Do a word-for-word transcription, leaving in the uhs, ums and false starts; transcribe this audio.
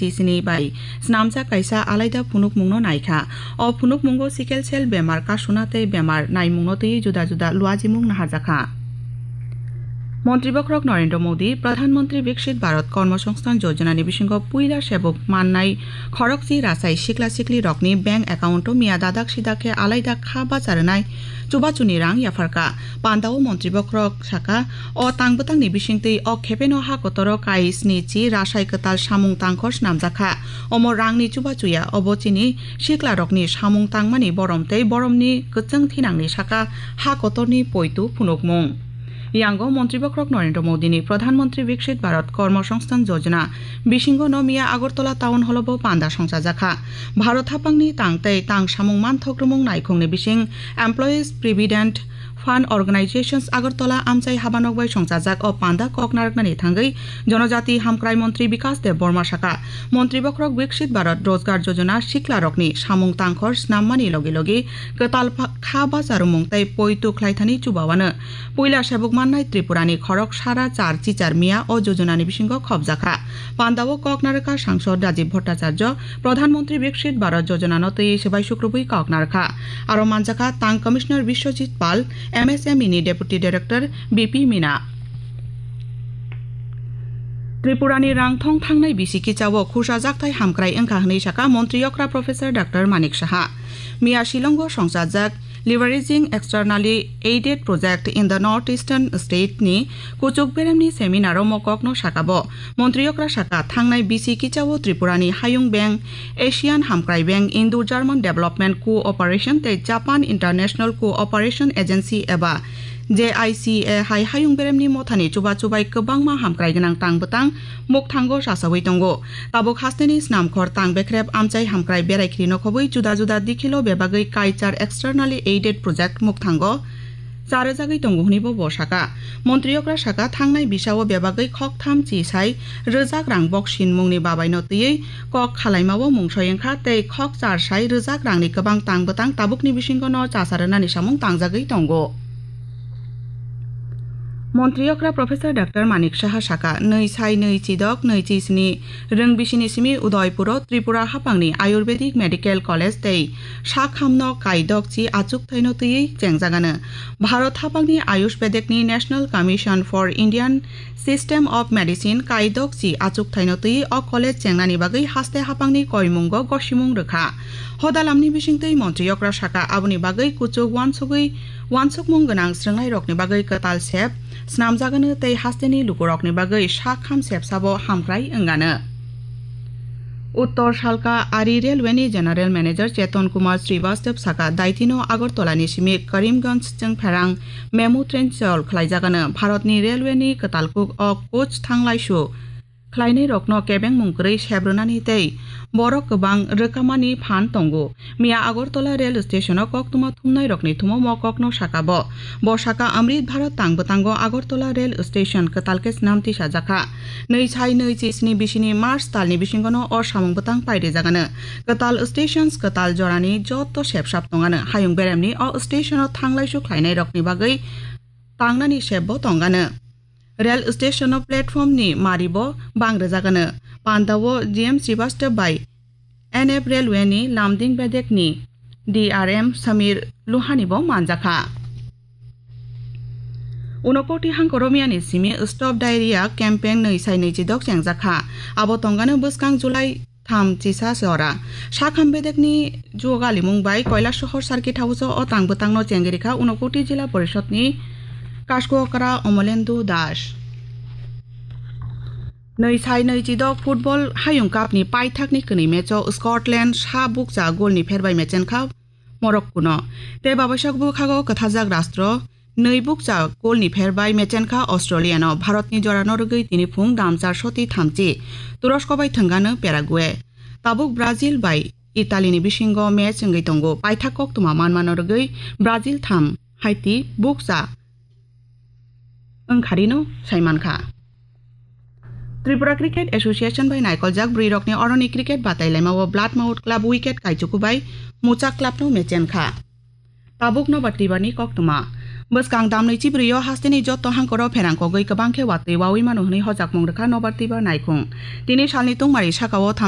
sini bai snamjak kaisa alaida phunukmungno naikha. O phunukmungo sickle cell bemar, kasuna tei bemar naimungno twiwi juda juda luajimung naharjakha. Montri bokhorok Narendra Modi, Pradhan Mantri Viksit Bharat Karma Sangsthan Yojana ni bisingo puila sebuk mannai khorokchi rasai sikla sikli rokni bank account o miya dadak sidak khe alaida kha bacha rwnai chubachuni rang yapharkha. Pandao montri bokhorok saka, o tang bwtangni bisingtwi o khepeno ha kotoro kai sni chi rasai kwtal samung tangkhor snamjakha. Omo rangni chubachuya, obo chini siklarokni samung tangmani borom tei boromni kwchwng thinangni saka ha kotorni poitu phunukmung. Yango montri bokhorok Narendra Modini Pradhan Mantri Viksit Bharat Karma Sangsthan Yojana bisingo no miya Agartala Town Hall o bo panda songchajakha. Bharat haphangni tang tei tang samung manthok rwmung naikhungni bising Employees Provident Fund Organizations Agartala amchai habanok bai songchajak o panda kok narwknani thangwi Jonojati Hamkrai Montri Bikas Deb Barma saka, Montri bokhorok Viksit Bharat Rojgar Yojana siklarokni samung tangkhor snammani logi logi kwtal pha-, kha bacharumung tei poitu khlaithani chubawano puila sebuk mannai Tripurani khorok sara char chichar miya o jojonani bisingo khopjakha. Pandao kok narwkha Sangsod Rajiv Bhattacharya, Pradhan Mantri Viksit Bharat Yojana no twiwi swbai sukrubwi kok narwkha. Aro manjakha Tang Commissioner Biswajit Pal, M S M E ni Deputy Director B P Mina. Tripurani rangthong thangnai bisi kichao khursa jakthai hamkrai wngkha hwnwi saka Montri okra Professor Doctor Manik Saha. Miya Shillongo songchajak Leveraging Externally Aided Project in the North Eastern State ni kuchuk beremni seminar o mokokno saka bo. Montri okra saka, thangnai bisi kichao Tripurani Hayung Bank, Asian Hamkrai Bank, Indo-German Development Cooperation tei Japan International Cooperation Agency eba J I C A hai hayung beremni mothani chubachu bai kwbangma hamkrai gwnang tang bwtang mukthango chachawi tongo. Tabuk hasteni snamkhor tang bekrep amchai hamkrai berai khiri nokhobwi juda juda dikhilo bebagwi kaichar externally aided project mukthango charwjagwi tongo hwnwi bo bo saka. Montri okra saka, thangnai bisao bebagwi khoktham chi sai rwjak rang boksin mungni babaino twiwi kok khalaimao mungsoi wngkha tei khokchar sai rwjak rangni kwbang tang bwtang tabukni bisingo no chasa rwnani samung tangjagwi tongo. Montri okra Professor Doctor Manik Saha saka, nwi sai nwi chidok nwi chi sni rwng bisini simi Udaipuro Tripura haphangni Ayurvedic Medical College tei sakhamno kaidok chi achuk thaino twiwi chengjagano. Bharat haphangni Ayush Vedekni National Commission for Indian System of Medicine kaidok chi achuk thaino twiwi o college chengnani bagwi haste haphangni koimungo gosimung rwkha. Hodalamni bisingtwi montri okra saka, aboni bagwi kuchuk wansugwi wansukmung gwnang srwngnairokni bagwi kwtal sep snamjagano tei hasteni lukurokni bagwi sak ham sep sabo hamkrai wngano. Uttor Salka Ari Railway ni General Manager Cheton Kumar Srivastava saka, daitino Agartala ni simi Karimganj chwngpherang memu train chol khlaijagano. Bharatni railway ni kwtal kuk o coach thanglaisu khlainairokno kebengmung kwrwi sep rwnani tei borok kwbang rwkamani phan tongo. Miya Agartala rail station o koktwma thumnairokni thumo mo kokno saka bo. Bo saka Amrit Bharat tang bwtango Agartala rail station kwtal khe snam tisajakha. Nwi sai nwi chi sni bisini March talni bisingono o samung bwtang pairijagano. Kwtal stations kwtal jorani joto sepsap tongano. Hayung beremni o station o thanglaisu khlainairokni bagwi tangnani sepbo tongano. Rail station o platform ni mari bo bang rwjagano. Pandao G M Srivastava bai N F Railway ni Lumding bedek ni D R M Samir Luhani bo manjakha. Unokoti hangkoro miya ni simi Stop Diarrhea campaign nwi sai nwi chidok chengjakha. Abo tongano bwskang July tham chisa se ora. Sakham bedekni juo galimung bai Kailasohor circuit house o tang bwtangno chengwi rikha Unokoti Jila Porishod ni Kaskokra Omolendu Das. Nwi sai nwi chidok football hayung cup ni paithak ni kwnwi match o Scotland sa bukcha goal ni pherbai mechenkha Morocco no. Tei babaisa bwkhago kwthajak rastro nwi bukcha goal ni pherbai mechenkha Australia no. Bharat ni jora no rwgwi tini phung damchar soti thamchi Turosko bai thwngano Paraguay. Tabuk Brazil bai Italy ni bisingo match wngwi tongo. Paithak koktwma manmano rwgwi Brazil tham, Haiti bukcha wngkharino saimankha. Tripura Cricket Association bai naikoljak bwrwirokni oroni cricket batailaimao Blood Mouth Club wicket kaichuku bai Muchak Club no mechenkha. Tabuk nobar twibarni koktwma. Bwskang damnwi chibrwio hasteni jotto hangkoro pherang kogwi kwbang khe watwi wawi mano hwnwi hojakmung rwkha nobar twibar naikhung. Tini salni tungmari sakao